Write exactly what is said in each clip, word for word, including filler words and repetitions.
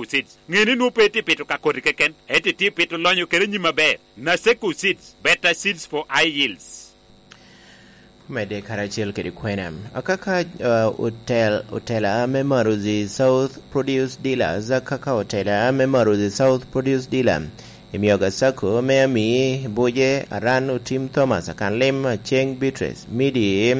Seeds. Ŋe ni nwoŋo pe itye pito ka koti keken, ento itye pito lonyo kede nyim aber. Naseko Seeds, better seeds for high yields. Medde karacel kede kwena. Akaka, uh, otel-, otela me Maruzi South Produce Dealers, akaka otela me Maruzi South Produce Dealer, Emyooga Sacco me Amii, Buje, Aran Otim Thomas, Akanlim Aceng Beatrice, Midi,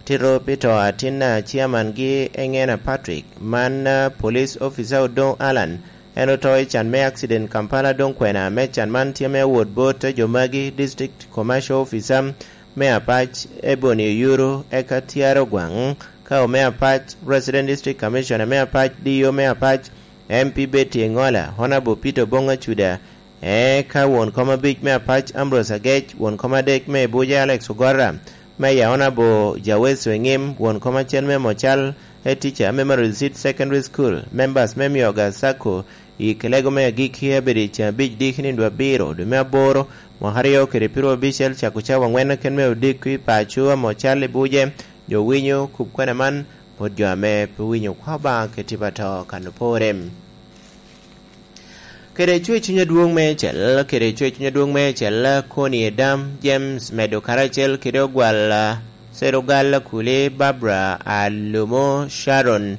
Tito pi to atin a ciaman gi Eŋena Patrick, man, ah, police officer Odoŋ Allan, en oto i can me accident Kampala. Doŋ kwena me can man tye me wot bot jo magi, District Commercial Officer me Apac Ebony Oyuru, eka Tyaro Ogwaŋ, ka ome Apac, Resident District Commissioner me Apac, D O me Apac, M P Betty Eŋola, Honourable Peter Oboŋ Acuda, eka won kom abic me Apac Ambrose Agec, won kom adek me Abuja Alex Ogora, Meya Honourable Jaweso Eŋim, won kom acel me Mocal, e teacher me Memory Seed Secondary School, members me Myoga Sacco, i kelego me agikki abedo i ceng abic diki nino abiro dwe me aboro, mwaka aryo kede pyeraryo abicel, cako cawa aŋwen keken me odiko i paco a Mocal i Buje, jo winyo kub kwena man, bot jo ame pe winyo kwa Obaŋa kede tipo ato kan opore. Kede cwer cuny adwoŋ meicel, kede cwer cuny adwoŋ meicel, Koni Edam James medo karacel kede Ogwal, ah, Serugal Akuli, Barbara Alumo, Sharon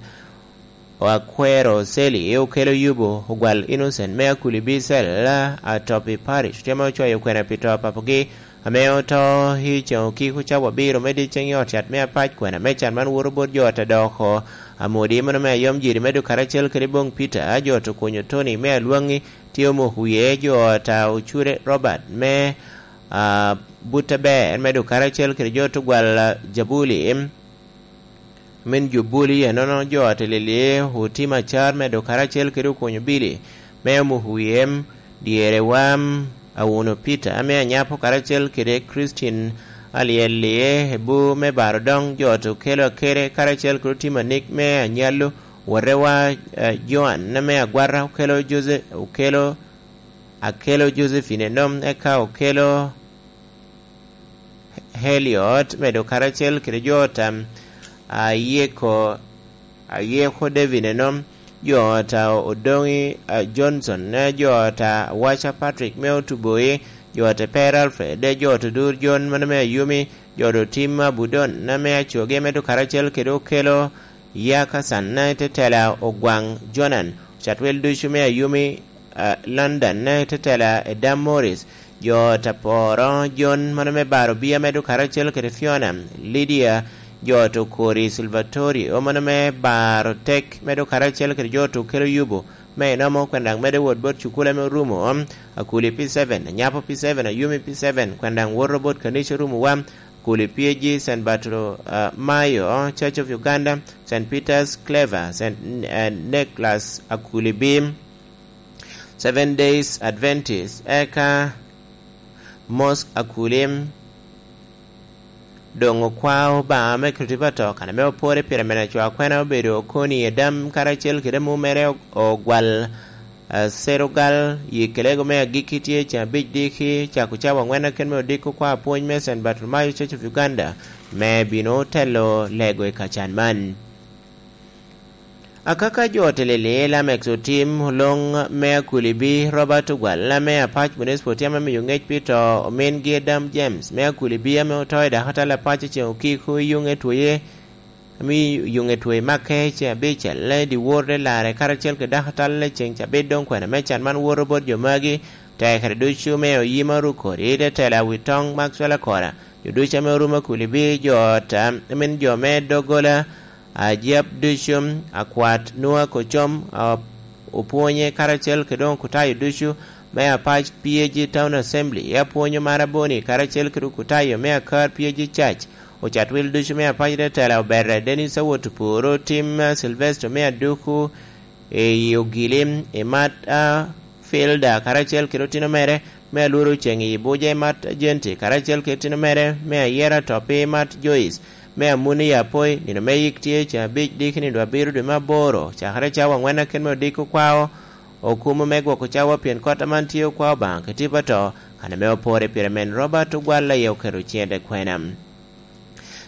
Akwero, Seli Okelo Yubo, Ogwal Innocent me Akuli Bicel, ah, Atopi Parish, tye ame ocwayo kwena pi to a papogi, ame oto i ceŋ okiko cawa abiro me dyeceŋ i ot yat me Apac. Kwena me can man woto bot jo ot a dok oko. Amodi mano me Ayom Jiri me Duk karacel kede Boŋ Peter, jo ot Okunyo Tony me Alwaŋi, tye omoko wie, jo ot a Ocure Robert me, ah, Butte Ber me Duk karacel kede jo ot Ogwal, ah, Jabuli, min Jubuli, enono jo ot Lili, Otim Acar me Duk karacel kede Okunyo Bili me omoko wie, dyere wam, Awuno Peter ame Anyapo karacel kede Christine Alyel-li, Ebu me Baro Doŋ, jo ot Okelo Akere karacel kede Otim Anik me Anyallo, wotewa, eh, Joan ame Agwata, Okelo Jose-, Okelo, Akelo Josephine Enom, eka Okelo Heliot, medo karacel kede jo ot a Ayeko, Ayeko David Enom, jo ot a Odoŋi, a, Johnson, ne jo ot a Waca Patrick me Otuboi, jo ot a Per Alfred, ne jo ot Odur John mano me Ayumi, jo ot Otim Abudon, ne me Acoge, medo karacel kede Okelo Yakasan, ne tetela Ogwaŋ Jonan, Catwel ducu me Ayumi, a, London, ne tetela Edam Morris, jo ot Aporo John mano me Baro Bia medo karacel kede Fiona, Lydia, jo ot Okori Salvatorio mano me Baro Tek medo karacel kede jo ot Okelo Yubo me Enomo, kwena daŋ medo wot bot cukul ame orumo, Akuli P seven, Anyapo P seven, Ayumi P seven, kwena daŋ woto bot kanica orumo wa, Akuli P G, Saint Bartolo-, ah, Mayo, Church of Uganda, Saint Peter's Clever, Saint, eh, Nicholas Akuli B, Seven Days Adventist, eka Mosque Akulim, doŋ okwao Obaŋa me Kricito pa to, kan ame opore pire mene acwa kwena obedo Okoni Edam karacel kede amumere O-, Ogwal, eh, Serugal, yi kelego me agikki tye ceŋ abic diki, cako cawa aŋwen keken me odiko kwa apwony me Saint Bartolomeo Church of Uganda, me bino telo lego i kacan man. Akaka jo ot Lili, Lamex Otim, Oloŋ me Akulibi, Robert Ogwal, ame Apac Municipal tye ame miyo ŋec pi to omingi Adam James me Akulibi, ame oto i dakatal Apac i ceŋ okiko i yuŋ etwoye, ame i yuŋ etwoye makke i ceŋ abicel, i dyewor de larre karacel kede dakatal i ceŋ cabit. Doŋ kwena me can man woto bot jo magi, tekere ducu me oyima Rukori, te tela wi toŋ Maxwell Akora, jo ducu ame orumo Akulibi, jo ot, a, amin jo me doggola, Ajab ducu, akwat Nua Kocom, a, opwonye karacel kede okutayo ducu me Apac P A G Town Assembly, apwonyo Maraboni karacel kede okutayo me Akar P A G Church, ocat wil ducu me Apac Tetela, Oberre Dennis Awot Oporo, Tim Sylvester me Aduku, i Ogili, i Mat, a, Filda, karacel kede otino mere, me Alworo Ceŋ i Buja, i Mat Jenti, karacel kede otino mere, me Ayera Topi, Mat Joyce, me Amuni i Apoi, nino me yik tye ceŋ abic diki nino abiro dwe me aboro, cakere cawa aŋwen aken me odiko kwao, okumo me gwoko cawa pien kot aman tye okwao Obaŋa kede tipo ato, kan ame opore pire men Robert Ogwal aye oketo ciŋe i kwena.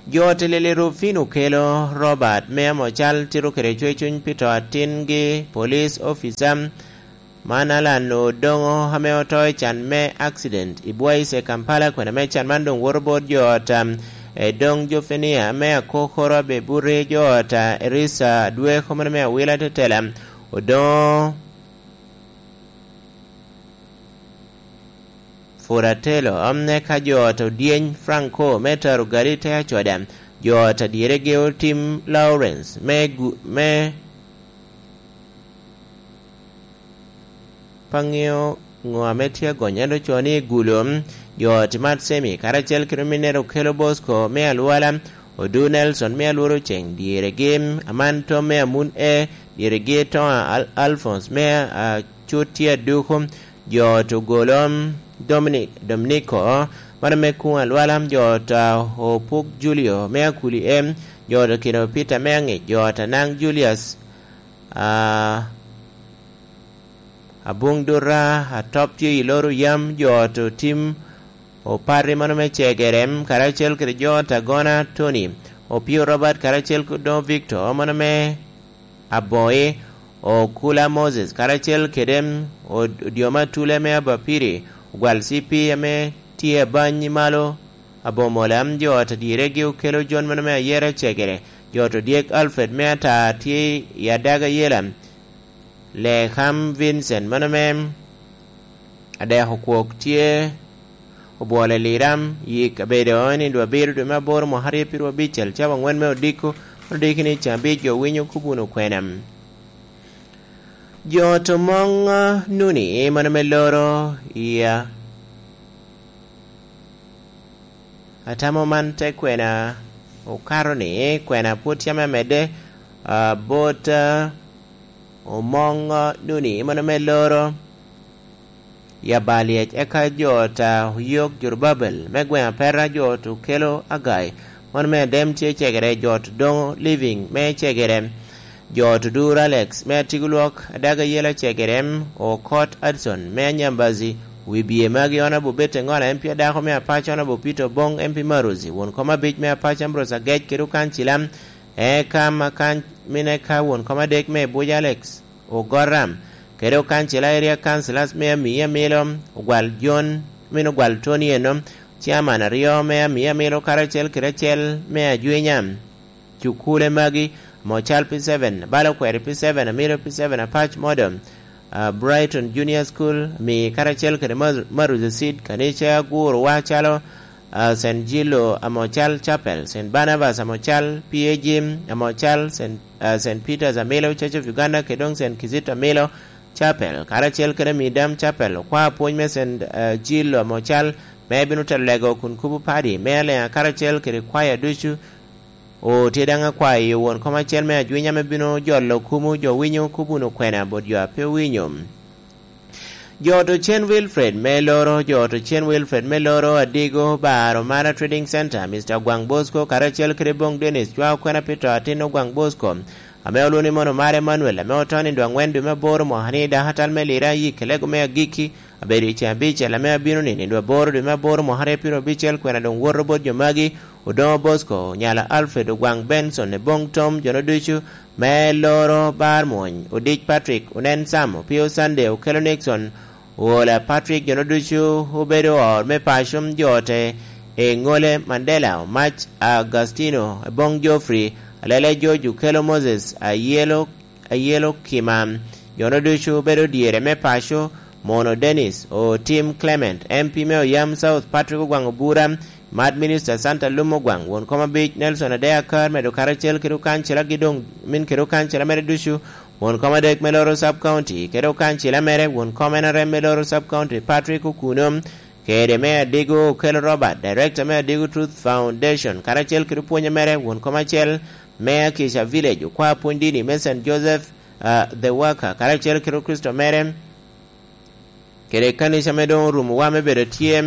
Jo ot i Lili Rufin okelo Robert me amo cal tito kede cwercuny pi to atingi, police officer man Alan Odoŋo ame oto i can me accident i Bwaise, Kampala, kwene me can man doŋ woto bot jo ot, um, Edoŋ Jofenia ame akokoro abe buti, jo ot, uh, Erisa Adweko mano me Awila Tetela, Odoŋo Furatelo, um, eka jo ot Odyeny Franco me Taro Gali te Acoda, jo ot adyeregi Otim Lawrence me gu-, me pe aŋeo ŋo ame tye agony, ento ocoo ni Gulo, jo ot Mat Semi, karacel kede ominnere Okelo Bosco me Alwala, Odu Nelson me Alworo Ceng, dyeregi Aman Tom me Amun E, dyeregi Toŋa Al-, Alphonse me Acut tye Aduku, jo ot Ogolo Dominic, Dominico, mano me Kuŋ Alwala, jo ot, ah, Opuk Julio me Akuli E, jo ot Okino Peter me Aŋic, jo ot Anaŋ Julius, ah, Abuŋ Dura, Atop tye i Loro Yam, jo ot Otim Opati mano me Cegerem, karacel kede jo ot Agona Tony, Opio Robert, karacel kede Odoŋo Victor mano me Aboŋi, Okula Moses, karacel kede Od-, Odyoma Tule me Abapiri, Ogwal C P ame tye abany i malo, Abomola, jo ot adyeregi Okelo Jon mano me Ayera Cegere, jo ot Odyek Alfred me Ata tye i Adaga Yela, Leham Vincent mano me Adeko Kwok tye Obwolo Eliram, yik abedo i nino abiro dwe me aboro mwaka aryo pirwa abicel, cawa aŋwen me odiko, odiko ni cabic jo winyo kubuno kwena. Jo ot Omoŋ, ah, Nuni mano me Loro i, ah, Atamo man te kwena okato ni kwena pwod tye ame amedde, ah, bot, ah, Omoŋ, ah, Nuni mano me Loro i Abalyec, eka jo ot, ah, Oyok Jorubabel me gweŋ Apeta, jo ot Okelo Agai mano me Adem tye Cegere, jo ot Doŋo Living me Cegere, jo ot Odur Alex me Atigo Lwok, Adaga Yela Cegere, Okot Adson me Anyambazi, Wibye magi Honorable Bete Ŋola M P Adako me Apac, Honorable Peter Oboŋ M P Marozi, won kom abic me Apac Ambrose Agec kede okancila, eka ma kan-, mine ka won kom adek me Buc Alex Ogoram, kede okancila Area Councilors me Amii Amilo, Ogwal John, mine Ogwal Tony eno, Chairman aryo me Amii Amilo karacel kede acel me Ajwinya. Cukule magi, Amocal P seven, Balo Kweri P seven, Amilo P seven, Apac Model, ah, Brighton Junior School, Amii karacel kede Mar-, Maruzi Seed, kanica gurowa calo, ah, Saint Gillo Amocal Chapel, Saint Barnabas Amocal, P A G Amocal, Saint, ah, Saint Peter's Amilo, Church of Uganda, kede doŋ Saint Kizito Amilo Chapel, karacel kede Amii Dam Chapel, okwao pwony me Saint, ah, Gillo Amocal, me bino telo lego kun kubo padi me Aleŋa karacel kede kwaya ducu, O, tye daŋ akwayo won kom acel me Ajwinya ame bino jolo kumo jo winyo kubuno kwena bot jo a pe owinyo. Jo ot Ocen Wilfred me Loro, jo ot Ocen Wilfred me Loro, Adigo, Bar Omara Trading Center, Mister Ogwaŋ Bosco, karacel kede Boŋ Dennis, cwao kwena pi to atin Ogwaŋ Bosco, ame olwoŋo ni mono Omara Emmanuel, ame oto nindo aŋwen dwe me aboro mwaka ni dako atal me Lira, yik Kelego me agikki, abedo i ceng abicel ame abino ni nindo aboro dwe me aboro mwaka aryo pyerabicel, kwena doŋ woto bot jo magi, Odoŋo Bosco, Nyala Alfred, Ogwaŋ Benson, Eboŋ Tom, jono ducu me Loro, Bar Mwony, Odic Patrick, Onen Sam, Opio Sunday, Okelo Nixon, Owola Patrick, jono ducu obedo ot me paco, jo ote, Eŋole Mandela, Omac Agustino, Eboŋ Geoffrey, Alele George, Okelo Moses, Ayelo Ayelo Kima, jono ducu obedo dyere me paco, mono Dennis, Otim Clement, M P me Oyam South, Patrick Ogwaŋ Obura, Mad Minister Santa Lum Ogwaŋ, won kom abic Nelson Adea Kar, medo karacel kede okancela gi doŋ min kede okancela mere ducu, won kom adek me Loro Sub County, kede okancela mere, won kom N R M me Loro Sub County, Patrick Okuno, kede me Adigo Okelo Robert, Director me Adigo Truth Foundation, karacel kede opwonye mere, won kom acel me Akisha Village, okwa pwony dini me Saint Joseph, ah, the Worker, karacel kede Kricito mere, kede kanica ame doŋ orumo wa me bedo tye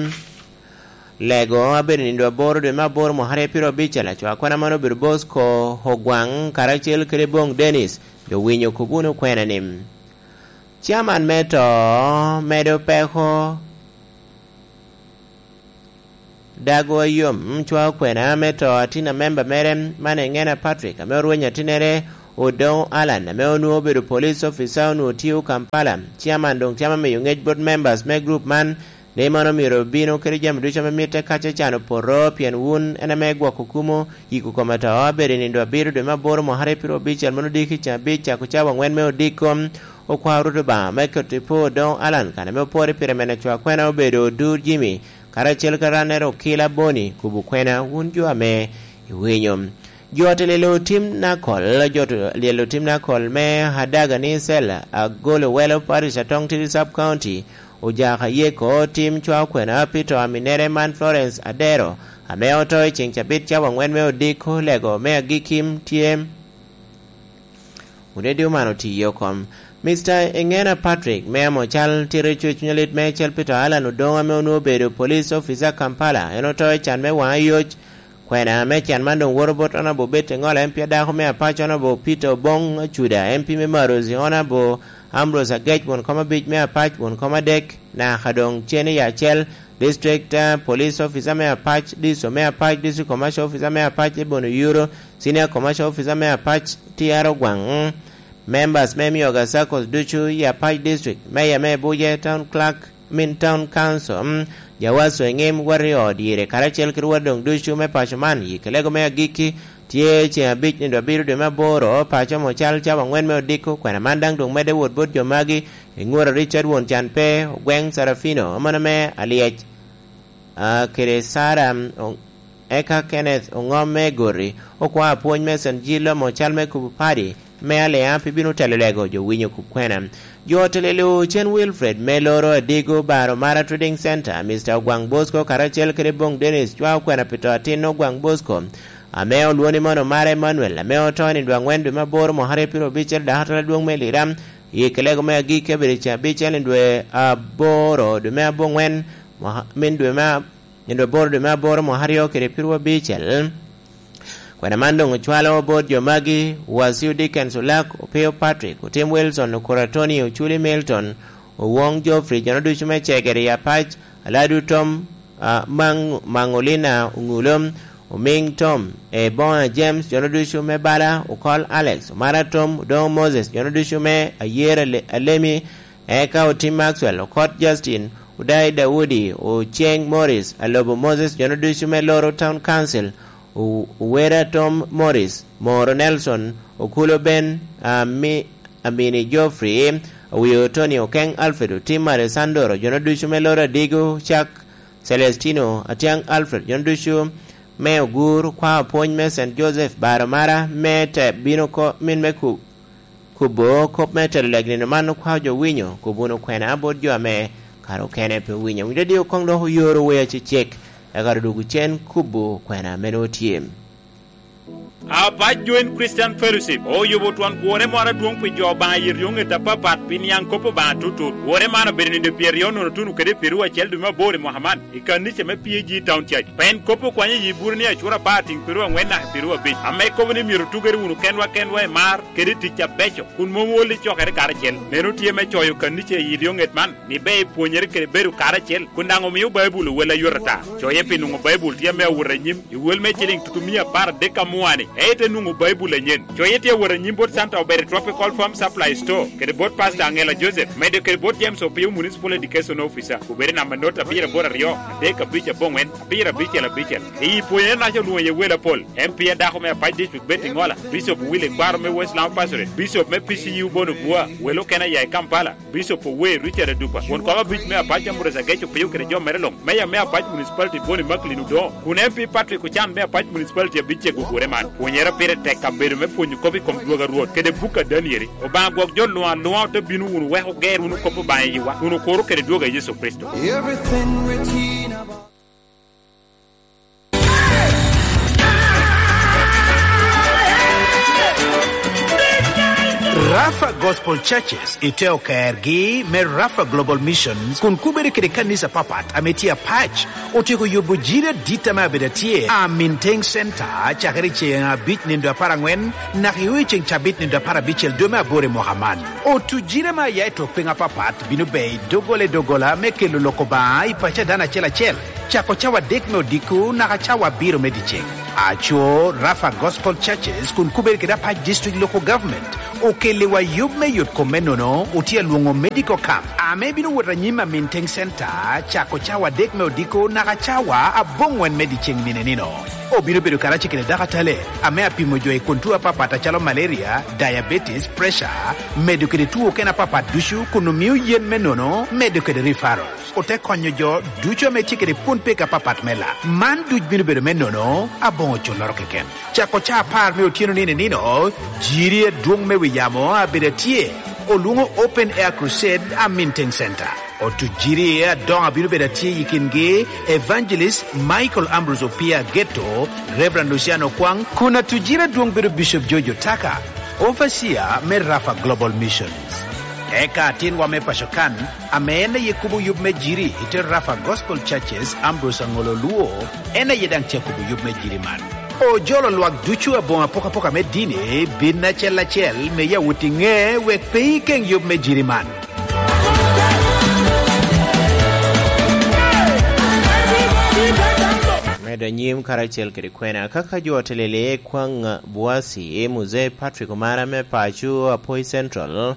lego, abedo nindo aboro dwe me aboro mwaka aryo pyerabicel, acwa kwana mano obedo Bosco Ogwaŋ, karacel kede Boŋ Dennis, jo winyo kubuno kwena ni. Chairman me to medo peko Dago Ayom, mm, cwao kwena me to atin a memba mere, man Engena Patrick, ame orwenyo atinnere Odongo Allan, ame onwoŋo obedo police officer, onwoŋo tio Kampala. Chairman doŋ tye ame miyo ŋec bot members me group man, ni man omyero obino kede jami ducu ame mitte ka ce can opoto, pien wun en ame gwoko kumo yiko kome to. Abedo i nindo abiro dwe me aboro mwaka aryo piro abicel, mano odiko i ceng abic, cako cawa angwen me odiko. Okwao Rwot Obaŋa me keto i po Odongo Allan, kan ame oporo i pire mene cwao kwena obedo Odur Jimmy, karacel kede Ranero Okila Boni, kubo kwena, wun jo ame iwinyo. Jo ot lyelo tim Nakol, jo ot lyelo tim Nakol me Adaga ni Sel Agolo Welo Parish, Atong Tidi Sub County, ojaka yeko tim cwao kwena pi to aminere man Florence Adero, ame oto i ceng cabit cawa angwen me odiko, lego me agikki tye. Wun idio man otiyo kom. Mister Engena Patrick, me amo cal tito i cuny alit me Cel Peter Allan Odongo, ame onwoŋo obedo police officer Kampala, en oto i can me waŋ ayoc. Kwena me can man doŋ woto bot Honorable Betty Ngola, M P adako me Apac, Honorable Peter Obong Acuda, M P me Marozi, Honorable Ambrose Agec, won kom abic me Apac, won kom adek, naka doŋ cen i acel, District, ah, Police Officer me Apac, D C O me Apac, District Commercial Officer me Apac, Ebony Oyuro, Senior Commercial Officer me Apac, T R Ogwaŋ, mm, members me Myoga Circles ducu i Apac District, Mayor me Abuja, Town Clerk, min Town Council, mm, Jawaso Eŋim, Warrior Odyere, karacel kede wot doŋ ducu me paco man, i kelego me agikki, tye ceŋ abic nino abiro dwe me aboro, paco mo cal cawa angwen me odiko, kwena man daŋ doŋ medde wot bot jo magi, Eŋura Richard Won Can pe, Ogweŋ Sarafino, amono me Alyec, ah, kede Sara, mm, o-, eka Kenneth Oŋom me Gori, okwao apwony me Saint Gillo mo cal me kubo padi me Alea, pi bino telo lego jo winyo kubo kwena. Jo ot lyelo Cen Wilfred me loro Adigo Baro Mara Trading Center, Mister Ogwaŋ Bosco, karacel kede Bong Dennis, cwao kwena pi to atin Ogwaŋ Bosco, ame olwoni mono Mara Emmanuel, ame oto i nino angwen dwe me aboro mwaka aryo piro abicel, dako atwal adwoŋ me Lira, i kelego me agikki abedo i ceng abicel i dwe aboro, dwe me abongwen, mwaka, min dwe me a-, i dwe aboro, dwe me aboro, mwaka aryo kede piro abicel. Kwena man doŋ ocwalo bot jo magi, Wasiu Dickens Olak, Opio Patrick, Otim Wilson, Okura Tony, Oculi Milton, Owoŋ Geoffrey, jo ducu me Cegere i Apac, Aladu Tom, ah, Maŋ-, Maŋolina Oŋulo, Omiŋ Tom, Ebona James, jo ducu me Bala, Okol Alex, Omara Tom, Odoŋo Moses, jo ducu me Ayer Ale-, Alemi, eka Otim Maxwell, Okot Justin, Odai Daudi, Oceng Morris, Alobo Moses, jo ducu me Loro Town Council, O-, Owera Tom Morris, Moro Nelson, Okulo Ben, Ami-, Amini Geoffrey, Owio Tony, Okeŋ Alfred, Otim Alessandro, jo ducu me Loro Adigo, Cak Celestino, Atiaŋ Alfred, jo ducu me Ogur, kwao pwony me Saint Joseph, Baro Mara, me te bino ko-, min me ku-, kubo kop me telo lek nino man, okwao jo winyo, kubo wunu kwena bot jo ame kare okene pe owinyo. Winyo dadi okoŋ dok oyoro wea cecek, eka dudwogo cen kubo kwena ame nwoŋo tye. Apac Joint Christian Fellowship oyubo twon gure moro adwoŋ pi jo Obaŋa i ryoŋet apapat pi niaŋ kop Obaŋa tutut. Gure man obedo nino pyeraryo nono tuno kede pyeraryo acel dwe me aboro i mwaka man i kanica me P A G Town Church. Pien kop okwanyo i yi buro ni acura apar tiŋ pyeraryo aŋwen naka pyeraryo abic, ame kobo ni myero otugere wunu kenwa kenwa i mar kede i tic abeco, kun mom ol i cokere karacel. Meno tye me coyo kanica i ryoŋet man, ni ber ipwonyere kede bedo karacel, kun daŋ omio Baibul owel ayot ata. Coye pi nwoŋo Baibul tye ame awot anyim i wel me ciliŋ tutumia apar adek amua-ni, ite nwoŋo Baibul anyen. Coye tye awot anyim bot Santa Obere Tropical Farm Supply Store, kede bot Pastor Angela Joseph, medo kede bot James Opio Municipal Education Officer, obed i namba not abiro aboro aryo, adek abic aboŋwen, abiro abicel abicel. I pwonyere naca olwoŋo iye wel apol, M P adako me Apac District Betty Ngola, Bishop Willy Kwaro me West Lamu Pastorate, Bishop me P C U Bono Bua, wel okene aya i Kampala, Bishop Owe Richard Adupa, won kom abic me Apac Ambrose Ageco Piyo kede jo mere luŋ, Meya me Apac Municipality Boni Macklin Odongo, kun M P Patrick Ochan me Apac Municipality abicego ogure man. Pwonyere pire tek kabedo me pwonyo kop i kom dwogo a Rwot kede buk a Danieli. Obaŋa gwok jo luŋ aluŋa ote bino wunu wek oger wunu kop Obaŋa i yiwa, kun okuro kede dwogo a Yecu Kricito. Everything written about Rafa Gospel Churches i te okergi me Rafa Global Missions kun kubere kede kanisa papat ame tye apac, otyeko yubo jiri adit ame abedo atye a Minteng Center cakere i ceŋ abic nindo apar aŋwen naka i ceŋ cabit nindo apar abicel dwe me aboro i mwaka man. Otu jiri ame aya i tok piny apapat bino be i doggola i doggola me kelo lok Obaŋa i paco a dano acel acel, cako cawa adek me odiko naka cawa abiro me dyeceŋ. Aco Rafa Gospel Churches kun kubere kede apac district local government okeliwa yub me yot kom me nono otye alwoŋo medical camp ame bino wot anyim a Minteng Center cako cawa adek me odiko naka cawa aboŋwen me dyeceŋ nino nino. Obino bedo karacel kede dakatale ame apimo jo i kun tuo apapat acalo malaria, diabetes, pressure, medo kede tuo okene apapat ducu kun omio yen me nono, medo kede referral. Ote konyo jo ducu ame tye kede pwon pek apapat me lak. Man duc bino bedo me nono aboŋo culloro keken. Cako ca apar me otyeno nino nino, jiri adwoŋ me wi yamo abedo atye, olwoŋo Open Air Crusade a Minteng Center. Otu jiri adoŋo abino bedo atye i kingi Evangelist Michael Ambrose Opia Geto, Reverend Luciano Kwang, kun atu jiri adwoŋ bedo Bishop George Otaka, Overseer me Rafa Global Missions. Eka atinwa me paco kan, ame en aye kubo yub me jiri i te Rafa Gospel Churches, Ambrose Aŋolo Luo, en aye daŋ tye akubo yub me jiri man. Ojolo lwak ducu aboŋo apokapoka me dini, bin acel acel, me yawot i ŋe wek pe ikeŋ yub me jiri man. Medo anyim karacel kede kwena, kaka jo otelele kwaŋ Buasi, Muzee Patrick Omara me paco Apoi Central,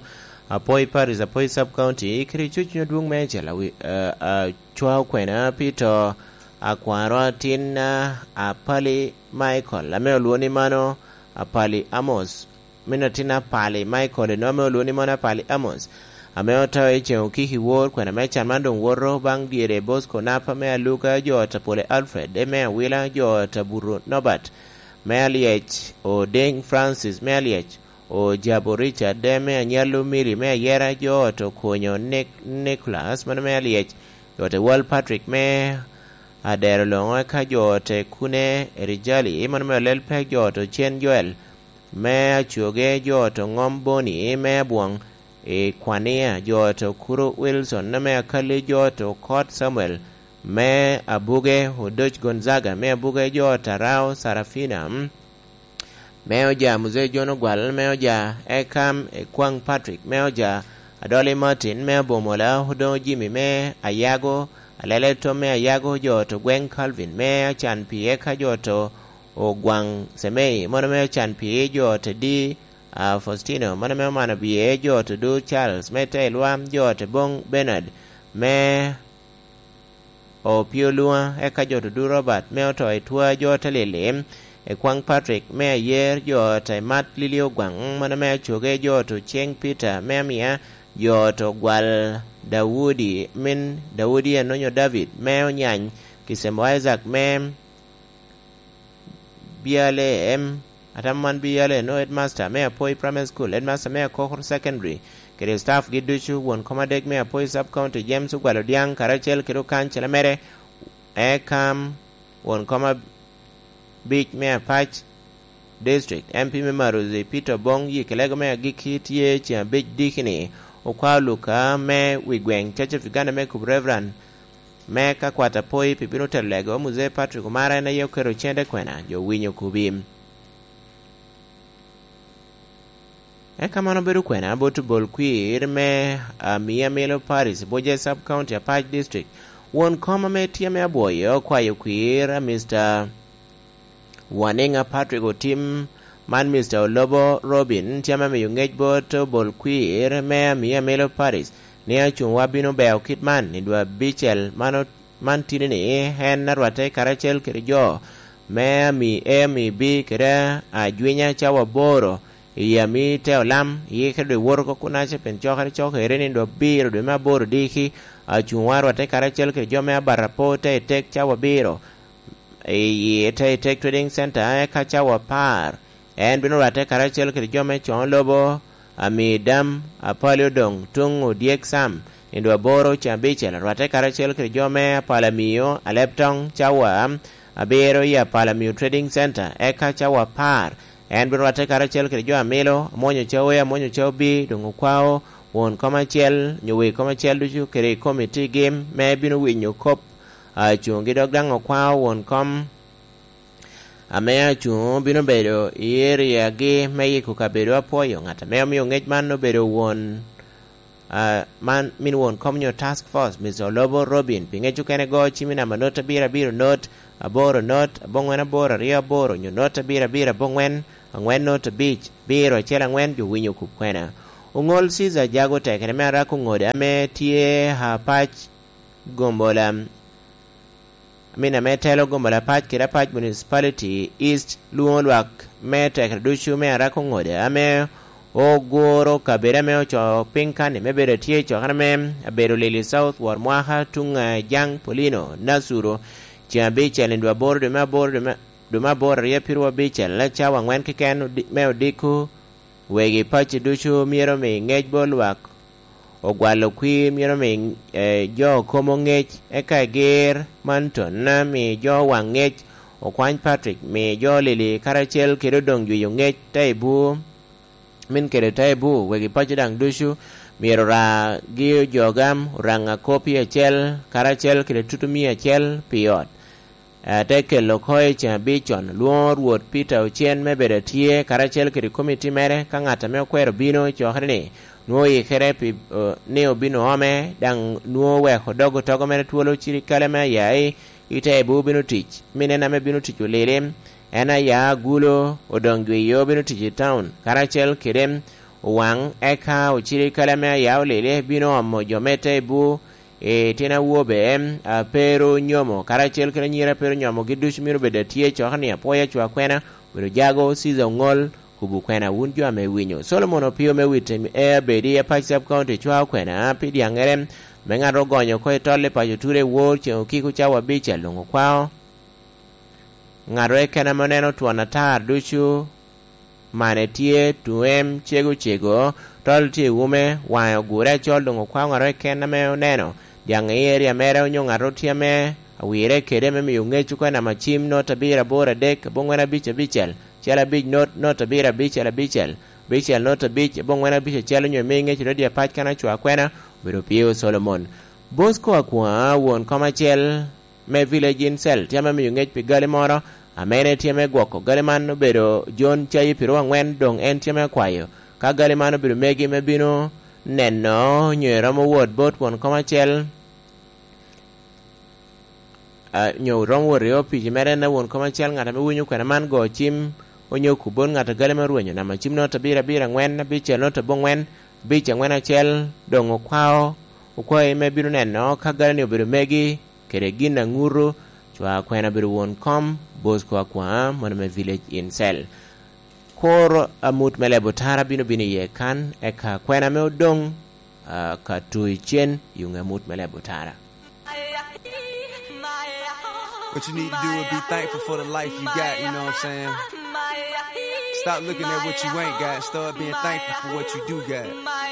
Apoi Paris, Apoi Sub County, kede cucunyo dwoŋ me acel awi-, eh, acwao kwena pi to akwaro atin, ah, Apali Michael, ame olwoŋo ni mano Apali Amos, min atin Apali Michael, eno ame olwoŋo ni mano Apali Amos, ame oto i ceŋ okiki wor, kwena me can man doŋ woto baŋ dyere Bosco Napa me Aluga, jo ot a Pole Alfred, me Awila, jo ot a Buto Norbert, me Alyec, Odeng Francis, me Alyec, Ojabo Richard, me Anyalo Miri, me Ayera, jo ot Okonyo Nic-, Nicholas, mano me Alyec, jo ot Wal Patrick, me Adero Loŋo, eka jo ot Kune Erijali, mano me Olel Pek, jo ot Ocen Joel, me Acoge, jo ot Oŋom Boni, me Abwoŋ, i Kwania, jo ot Okuro Wilson, me Akali, jo ot Okot Samuel, me Abuge, Odoc Gonzaga, me Abuge, jo ot Arao Sarafina, me Oja Muzee John Ogwal, me Oja Ekam Ekwaŋ Patrick, me Oja Adoli Martin, me Abomola, Odoŋo Jimmy, me Ayago, Alele Tom, me Ayago, jo ot Ogweŋ Calvin, me Acan Pii, eka jo ot Ogwaŋ Semei, mono me Acan Pii, jo ot Edi, a, Faustino, mono me Omano Biye, jo ot Odur Charles, me Teilwa, jo ot Boŋ Bernard, me Opio Lua, eka jo ot Odur Robert, me oto i Twa, jo ot Lili, Ekwaŋ Patrick, me Ayer, jo ot Mat Lili Ogwaŋ, mono me Acoge, jo ot Oceng Peter, me Amia, jo ot Ogwal Daudi, min Daudi Anonyo David, me Onyany, Kisemo Isaac, me Biale, em, atamo man Biale, no headmaster me Apoi Primary School, headmaster me Akokor Secondary, kede staff gi ducu, won kom adek me Apoi Sub County, James Ogwal Odiaŋ, karacel kede okancela mere, Ekam, won kom abic me Apac District, M P me Marozi, Peter Obong, yik lego me agikki tye ceŋ abic diki-ni, okwao Luka me wi gweŋ, Church of Uganda me Kubu Reverend, me ka kwat Apoi pi bino telo lego, Muzee Patrick Omara en aye oketo cente kwena, jo winyo kubi. Eka man obedo kwena bot obol kwir me Amia Milo Paris, Buje Sub County, Apac District. Won kom ame tye me Abwoyo okwayo kwir a Mister Waniŋa Patrick Otim, man Mister Olobo Robin, tye ame miyo ŋec bot obol kwir me Amia Milo Paris, ni acuŋwa bino beo kit man i dwe abicel man o-, man tini-ni, en arwatte karacel kede jo me ami A, ami B kede ajwinya cawa aboro, i ami te olam, i kede dwe woto oko kunaca, pien cokere cokere ni dwe abiro dwe me aboro diki, acuŋwa arwatte karacel kede jo me Abarapo te i tek cawa abiro, i te i tek Trading Center, eka cawa apar, en bino rwatte karacel kede jo me Coŋo Lobo, Ami Dam, Apali Odoŋ, Tuŋ Odyek Sam, i dwe aboro ceŋ abicel, rwatte karacel kede jo me Apala Miyo, Aleb Toŋ, cawa abiro i Apala Miyo Trading Center, eka cawa apar, En bino rwatte karacel kede jo a milo, amwonyo ca oya, amwonyo ca obi, doŋ okwao won kom acel, nyo wegi kom acel ducu kede i komiti gi me bino winyo kop, a, cuŋgi, dok daŋ okwao won kom ame acuŋ bino bedo i eriagi me yiko kabedo apwoyo. Ŋat ame omio ŋec man obedo won, a, man, min won kom nyo task force, Mister Olobo Robin, pi ŋec okene go, cimi namba not abiro abiro not aboro not aboŋwen aboro aryo aboro, nyo not abiro abiro aboŋwen aŋwen not abic, biro acel aŋwen, jo winyo kop kwena. Oŋol Caesar Jago tekere me arako ŋode ame tye Apac Gombola, amin ame telo Gombola Apac kede Apac Municipality East, lwoŋo lwak me tekere ducu me arako ŋode ame oguro kabedo ame ocoo piny kan-ni me bedo tye i cokere me abedo lili South wor mwaka tuŋ, eh, Jaŋ Polino Nasuru, ceŋ abicel i dwe aboro dwe me aboro dwe me, dwe me aboro aryo pirwa abicel, cawa aŋwen keken odi-, me odiko. Wegi paco ducu myero omi ŋec bot lwak, ogwalo kwir myero omi, eh, jo komo ŋec, eka egir Manton, mi jo waŋ ŋec, okwany Patrick, mi jo lili karacel kede odoŋ jwiyo ŋec, Taibu, min kede Taibu, wegi paco daŋ ducu myero oragi ojogam, oraŋ akopi acel, karacel kede tutumia acel pi ot. Ate kelo oko i ceŋ abic con, lwoŋo Rwot Peter Ocen me bedo atye karacel kede komiti mere. Ka ŋat ame okwero bino i cokere-ni, nwoŋo oyikere pi, eh, ni obin oome, daŋ nwoŋo oweko dog otogo mere twolo cirikale me aya i, i Taibu bino tic. Min en ame bino tic olili, en aya agulo, odoŋ jwiyo bino tic i taun, karacel kede owaŋ, eka ocirikale ame aya olili bino omo jo me Taibu, i tyen awobe, a, pe ru nyomo, karacel kede anyira pe ru nyomo, gi ducu myero bed atye i cokere-ni, apwoyo acwa kwena, obedo Jago, Caesar Oŋol, kubu kwena, wun jo ame iwinyo. Solomon Opio me Wit, e, Abedi, Apac Sub County, cwao kwena pi dyaŋere, me ŋat ogonyo oko i tol i paco Ture i wor ceŋ okiko cawa abicel luŋ okwao. Ŋat okene ame oneno twon atar ducu, mane tye, tuŋem cego cego, tol tye i wume, waŋe ogure acol, doŋ okwao ŋat okene ame oneno dyaŋ i eria mere, onyo ŋat tye ame awire kede me miyo ŋec oko i namba cim, not abiro aboro adek, aboŋwen abic abicel, acel abic, not, not abiro abicel abicel, abicel not abic, aboŋwen abic acel, onyo imi ŋec i redio apac kan acwa kwena, obedo Opio Solomon. Bosco Akwa, won kom acel, me Village in Cell tye ame miyo ŋec pi gali moro, ame en tye me gwoko gali man obedo John Cayi Piru Angwen, doŋ en tye me kwayo ka gali man obedo megi me bino neno nyo eromo wot bot won kom acel, a, nyo romo wot i opic mere, en a won kom acel, ŋat ame winyo kwena man go cim, onyo kub bot ŋat a gali me rwenyo, namba cim not abiro abiro angwen, abicel not aboŋwen, abic angwen acel, doŋ okwao, okwayi me bino neno ka gali-ni obedo megi, kede gin a ŋuto, cwa kwena obedo won kom, Bosco Akwa, mono me Village in Cell. Kor amut me lebo tara bino bino iye kan, eka kwena me odoŋ, a, ka tu icen, i ŋe amut me lebo tara. What you need to do is be thankful for the life you got, you know what I'm saying? Stop looking at what you ain't got, start being thankful for what you do got.